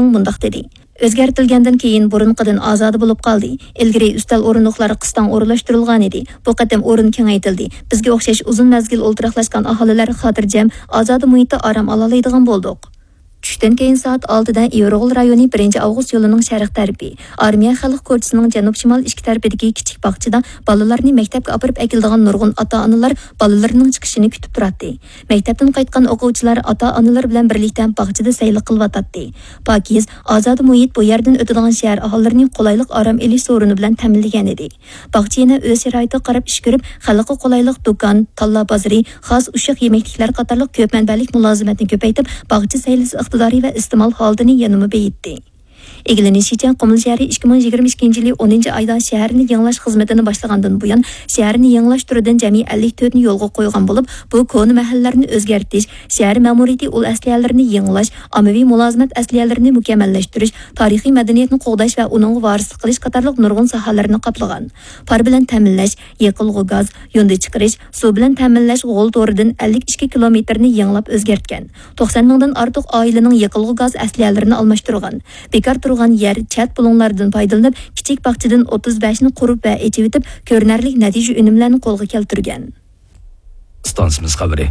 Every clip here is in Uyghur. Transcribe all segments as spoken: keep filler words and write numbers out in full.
مۇنداق دېدى: ئۆزگەرتىلگەندىن كېيىن بۇرۇنقىدىن ئازادە بولۇپ قالدى. ئىلگىرى ئۈستەل ئورۇندۇقلار قىستاڭ ئورۇنلاشتۇرۇلغانىدى. بۇ قېتىم ئورۇن كېڭەيتىلدى. بىزگە ئوخشاش ئۇزۇن مەزگىل ئولتۇراقلاشقان ئاھالىلەر خاتىرجەم، ئازادە مۇھىتتا ئارام ئالالايدىغان بولدۇق. چۈشتىن كېيىن سائەت ئالتىدە ئىۋىرغول رايونى بىرىنچى ئاۋغۇست يولىنىڭ شەرق تەرىپى، ئارمىيە خەلق كوچىسىنىڭ جەنۇب-شىمال ئىككى تەرىپىدىكى كىچىك باغچىدا بالىلارنى مەكتەپكە ئاپىرىپ ئەكېلىدىغان نۇرغۇن ئاتا-ئانىلار بالىلىرىنىڭ چىقىشىنى كۈتۈپ تۇراتتى. مەكتەپتىن قايتقان ئوقۇغۇچىلار ئاتا-ئانىلىرى بىلەن بىرلىكتە باغچىدا سەيلە قىلىۋاتاتتى. پاكىز، ئازادە مۇھىت بۇ يەردىن ئۆتىدىغان شەھەر ئاھالىلىرىنى قولايلىق ئارام ئېلىش سورۇنى بىلەن تەمىنلىگەنىدى. باغچە يەنە ئۆز شارائىتىغا قاراپ ئىش كۆرۈپ، خەلققە قولايلىق دۇكان، تاللا بازىرى، خاس ئۇششاق يېمەكلىكلەر قاتارلىق كۆپ مەنبەلىك مۇلازىمەتنى كۆپەيتىپ، باغچە سەيلىسى ئىقتىدارى ۋە ئىستېمال ھالىتىنى يەنىمۇ بېيىتتى. ئىگىلىنىشىچە، قۇمۇل شەھىرى ئىككى مىڭ يىگىرمە ئىككىنچى يىلى ئونىنچى ئايدا شەھەرنى يېڭىلاش خىزمىتىنى باشلىغاندىن بۇيان، شەھەرنى يېڭىلاش تۈرىدىن جەمئىي ئەللىك تۆتنى يولغا قويغان بولۇپ، بۇ كونا مەھەللىلەرنى ئۆزگەرتىش، شەھەر مەمۇرىيىتى ئۇل ئەسلىھەلىرىنى يېڭىلاش، ئاممىۋى مۇلازىمەت ئەسلىھەلىرىنى مۇكەممەللەشتۈرۈش، تارىخىي مەدەنىيەتنى قوغداش ۋە ئۇنىڭغا ۋارىسلىق قىلىش قاتارلىق نۇرغۇن ساھەلەرنى قاپلىغان. پار بىلەن تەمىنلەش، يېقىلغۇ گاز، يۇندى چىقىرىش، سۇ بىلەن تەمىنلەش غول تورىدىن ئەللىك ئىككى كىلومېتىرنى يېڭىلاپ ئۆزگەرتكەن. توقسان مىڭدىن ئارتۇق ئائىلىنىڭ يېقىلغۇ گاز ئەسلىھەلىرىنى ئالماشتۇرغان. بىكار تۇرغان يەر، چەت بۇلۇڭلاردىن پايدىلىنىپ، كىچىك باغچىدىن ئوتتۇز بەشنى قۇرۇپ ۋە ئېچىۋېتىپ، كۆرۈنەرلىك نەتىجە ئۈنۈملەرنى قولغا كەلتۈرگەن. ئىستانسىمىز خەۋىرى.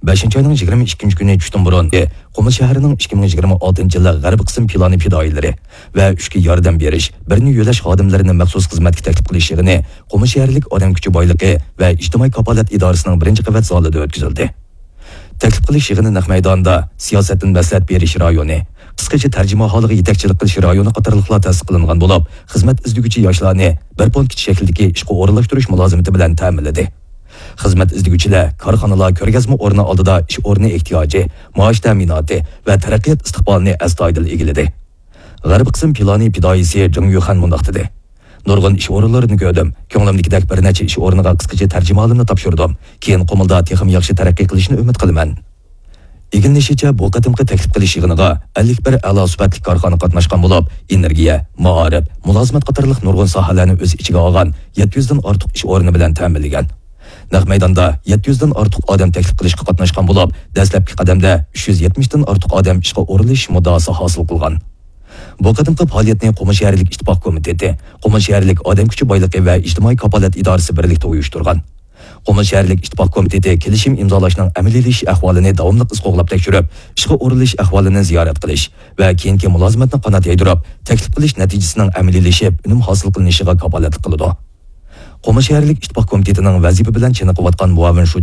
بەشىنچى ئاينىڭ يىگىرمە ئىككىنچى كۈنى چۈشتىن بۇرۇن، قۇمۇل شەھىرىنىڭ ئىككى مىڭ يىگىرمە ئالتىنچى يىللىق غەربىي قىسىم پىلانى پىدائىيلىرى ۋە ئۈچكە ياردەم بېرىش، بىرنى يۆلەش خادىملىرىنى مەخسۇس خىزمەتكە تەكلىپ قىلىش يىغىنى قۇمۇل شەھەرلىك ئادەم كۈچى بايلىقى ۋە ئىجتىمائىي كاپالەت ئىدارىسىنىڭ بىرىنچى قەۋەت زالىدا ئۆتكۈزۈلدى. تەكلىپ قىلىش يىغىنى نەق مەيداندا سىياسەتتىن مەسلىھەت بېرىش رايونى، قىسقىچە تەرجىمىھالىغا يېتەكچىلىك قىلىش رايونى قاتارلىقلار تەسىس قىلىنغان بولۇپ، خىزمەت ئىزدىگۈچى ياشلارنى بىر پونكىت شەكلىدىكى ئىشقا ئورۇنلاشتۇرۇش مۇلازىمىتى بىلەن تەمىنلىدى. خىزمەت ئىزدىگۈچىلەر كارخانىلار كۆرگەزمە ئورنى ئالدىدا ئىش ئورنى ئېھتىياجى، مائاش تەمىناتى ۋە تەرەققىيات ئىستىقبالىنى ئەستايىدىل ئىگىلىدى. غەربىي قىسىم پىلانى پىدائىيسى جېڭ يۈخەن مۇنداق دېدى: نۇرغۇن ئىش ئورۇنلىرىنى كۆردۈم. كۆڭلۈمدىكىدەك بىر نەچچە ئىش ئورنىغا قىسقىچە تەرجىمىھالىمنى تاپشۇردۇم. كېيىن قۇمۇلدا تېخىمۇ ياخشى تەرەققىي قىلىشنى ئۈمىد قىلىمەن. ئىگىلىنىشىچە، بۇ قېتىمقى تەكلىپ قىلىش يىغىنىغا ئەللىك بىر ئەلا سۈپەتلىك كارخانا قاتناشقان بولۇپ، ئېنېرگىيە، مائارىپ، مۇلازىمەت قاتارلىق نۇرغۇن ساھەلەرنى ئۆز ئىچىگە ئالغان يەتتە يۈزدىن ئارتۇق ئىش ئورنى بىلەن تەمىنلىگەن. نەق مەيداندا يەتتە يۈزدىن ئارتۇق ئادەم تەكلىپ قىلىشقا قاتناشقان بولۇپ، دەسلەپكى قەدەمدە ئۈچ يۈز يەتمىشتىن ئارتۇق ئادەم ئىشقا ئورۇنلىشىش مۇددىئاسى ھاسىل قىلغان. بۇ قېتىمقى پائالىيەتنى قۇمۇل شەھەرلىك ئىتتىپاق كومىتېتى، قۇمۇل شەھەرلىك ئادەم كۈچى بايلىقى ۋە ئىجتىمائىي كاپالەت ئىدارىسى بىرلىكتە ئۇيۇشتۇرغان. قۇمۇل شەھەرلىك ئىتتىپاق كومىتېتى كېلىشىم ئىمزالاشنىڭ ئەمەلىيلىشىش ئەھۋالىنى داۋاملىق ئىز قوغلاپ تەكشۈرۈپ، ئىشقا ئورۇنلىشىش ئەھۋالىنى زىيارەت قىلىش ۋە كېيىنكى مۇلازىمەتنى قانات يايدۇرۇپ، تەكلىپ قىلىش نەتىجىسىنىڭ ئەمەلىيلىشىپ، ئۈنۈم ھاسىل قىلىنىشىغا كاپالەتلىك قىلىدۇ. قۇمۇل شەھەرلىك ئىتتىپاق كومىتېتىنىڭ ۋەزىپە بىلەن چېنىقىۋاتقان مۇئاۋىن شۇجى